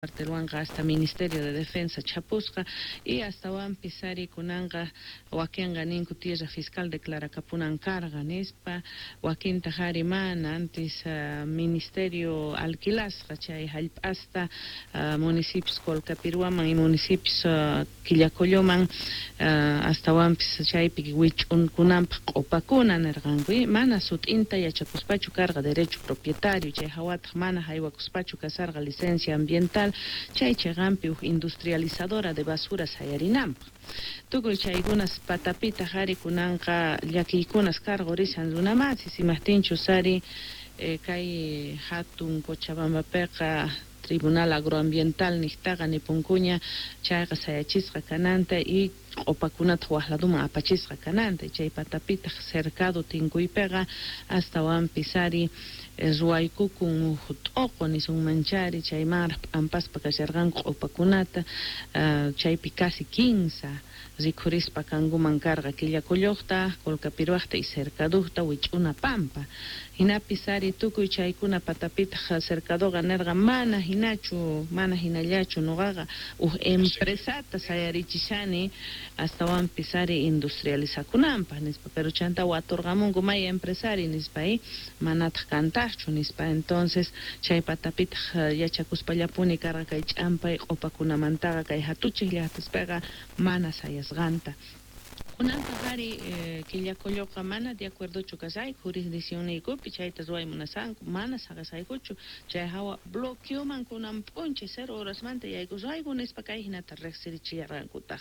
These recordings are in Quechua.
Cuartelwanqa hasta Ministerio de Defensa chhapusqa y astawanpis ari kunanqa wakinqa ninku tierra fiscal declarakapunan karqa nispa, wakintaq ari mana antes ministerio alquilasqa chay hallp'asta municipios Colcapirhuaman y municipios Quillacolloman astawanpis chaypi wich'unkunanpaq q'upakuna nirqanku y mana sut'inta yachakuspachu karqa derecho propietario chay hawataq mana haywakuspachu kasarqa licencia ambiental chay chiqanpi huk industrializadora de basura sayarinanpaq. Tukuy chaykunas patapitaq ari kunanqa llakiykunas karqurishan runamasis imaqtinchus ari kay hatun Cochabambapiqa Tribunal Agroambiental niqtaqa nipunkuña chayqa sayachisqa kananta y q'upakunataq wak laduman apachisqa kananta y chay patapitaq cercado tinkuypiqa astawanpis ari ruwaykukun huk t'uqu nisunmanchari chaymanraq p'ampaspa kasharqanku q'upakunata chaypi casi kinsa rikhurispa kankuman karqa Quillacolloqta, Colcapirhuaqta y Cercaduqta wich'una pampa. Hinapis ari tukuy chaykuna patapitaq Cercadoqa nirqa mana hinachu, mana hinallachu nuqaqa huk empresata sayarichishani astawanpis ari industrializakunanpaq nispa, pero chanta waturqamunku may empresari nispa y manataq kantaqchu nispa, entonces chay patapitaq yachakuspallapuni karqa kay ch'ampay q'upakunamantaqa kay hatuchiq llaqtaspiqa mana sayasqanta. Kunantaq ari Quillacolloqa mana de acuerdochu kasayku jurisdiccionniykupi chayta ruway munasanku, mana saqesaykuchu chay hawa bloqueoman kunan p'unchay 0 horasmanta yaykusqayku nispa kay hinata riqsirichillarqankutaq.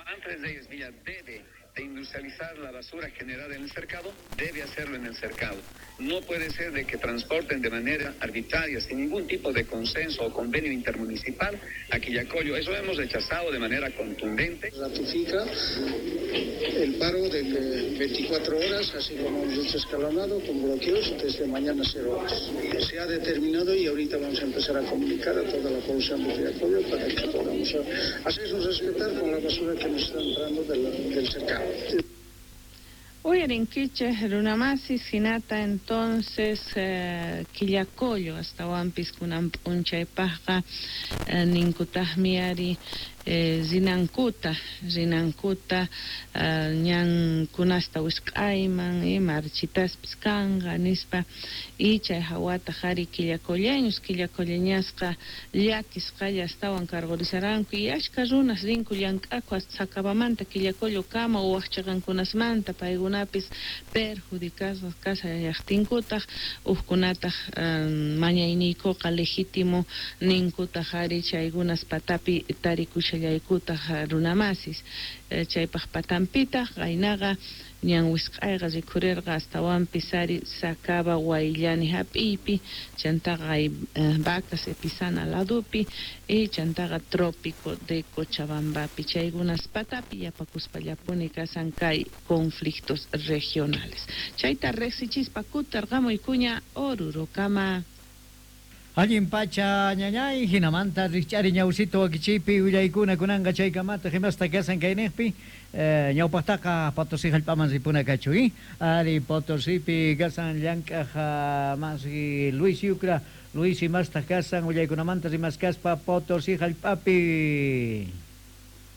Andrés Reyes Villa debe de industrializar la basura generada en el cercado, debe hacerlo en el cercado. No puede ser de que transporten de manera arbitraria, sin ningún tipo de consenso o convenio intermunicipal a Quillacollo. Eso hemos rechazado de manera contundente. Ratifica el paro de 24 horas, así como hemos dicho escalonado, con bloqueos desde mañana 0 horas. Se ha determinado y ahorita vamos a empezar a comunicar a toda la población de Quillacollo para que podamos hacernos respetar con la basura que nos está entrando del cercado. Uyarinkichej runamasis hinata entonces Quillacollo astawanpis kunan p'unchaypaqqa ninkutaqmi ari rinankuta rinankuta ñankunasta wisq'ayman marchitaspis kanqa nispa y chay hawataq ari quillacolleños quillacolleñasqa llakisqalla astawan karqurisharanku y achka runas rinku llank'aku hasta Sacabamanta Quillacollo kama wak chiqankunasmanta paykunapis perjudicasqas kasallaqtinkutaq hukkunataq mañayniykuqa legítimo ninkutaq ari chaykunas patapi tarikushallaykutaq runamasis chaypaq patanpitaq qaynaqa ñan wisq'ayqa rikhurirqa astawanpis ari Sacaba Huayllani hap'iypi chantaqa Vacas Epizana ladupi y chantaqa Trópico de Cochabambapi chaykunas patapi yapakuspallapuni kasan kay conflictos regionales. Chayta riqsichispa kutirqamuykuña Orurokama. Allin pacha ñañay hinamanta rikch'ari ñawsito wakichiypi willaykuna kunanqa chaykamata himasta kasan kayniqpi ñawpaqtaqa Potosí hallp'aman ripuna kachu ari Potosípi kasan llank'aq masi Luis Yucra Luis imastaq kasan willaykunamanta rimaskaspa Potosí hallp'api.